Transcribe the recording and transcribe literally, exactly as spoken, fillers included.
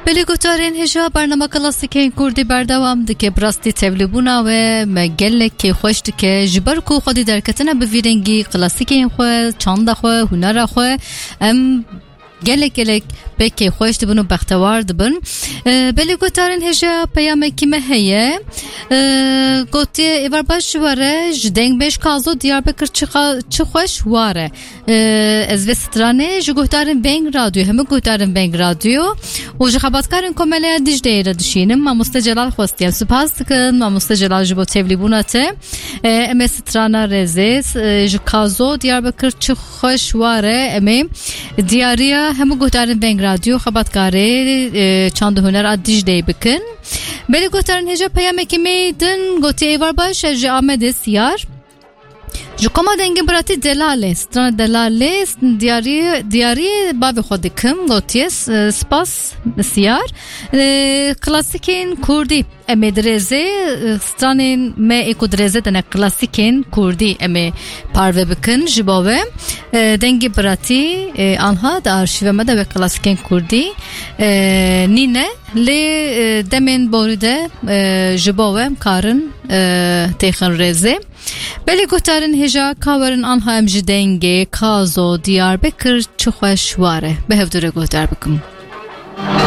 Belê guhdarên hêja, bernama klasîkên kurdî berdewam dike. Bi rastî tevlîbûna we me gelek kêfxweş dike. Ji ber ku xwedî derketine bi vî rengî klasîkên xwe, çanda xwe, hunera xwe, em gelek gelek pê kêfxweş dibin û bextewar dibin. E, belê guhdarên hêja, peyamekî me heye. E, gotiye, êvar baş ji we re, ji dengbêj Kazo Diyarbekir çi xa-, çi xweş war e. E, ez vê stranê ji guhdarên Veng Radyo, hemû guhdarên Veng Radyo û ji xebatkarên Komeleya Dicleyê re dişînim. Mamoste Celal xwestiye. Spas dikin, Mamoste Celal, ji bo tevlîbûna te. E, em ê strana rêzê, e, ji Kazo Diyarbekir çi xweş war e, em ê diyariya hemû guhdarên Veng Radyo, xebatkarê, e, çand û huner a Dicleyê bikin. Belê guhdarên hêja, peyamekî me din gotiye, êvar baş, ez ji Amedê Siyar. Ji koma dengê biratî Delalê, strana Delalê, diyarî, diyarî bavê xwe dikim, gotiye, s-, spas Siyar. E, klasîkên kurdî em ê dirêzê, e, stranên me ê ku dirêzê tene klasîkên kurdî em ê parve bikin ji bo we. E, dengê biratî, e, anha di arşîva me de wek klasîkên kurdî, e, nîne, lê, e, demên borî de, e, ji bo we em karin, e, têxin rêzê. Belê guhdarên hêja, ka werin anha em ji dengê Kazo Diyarbekir çi xweş war e bi hevdû re guhdar bikin.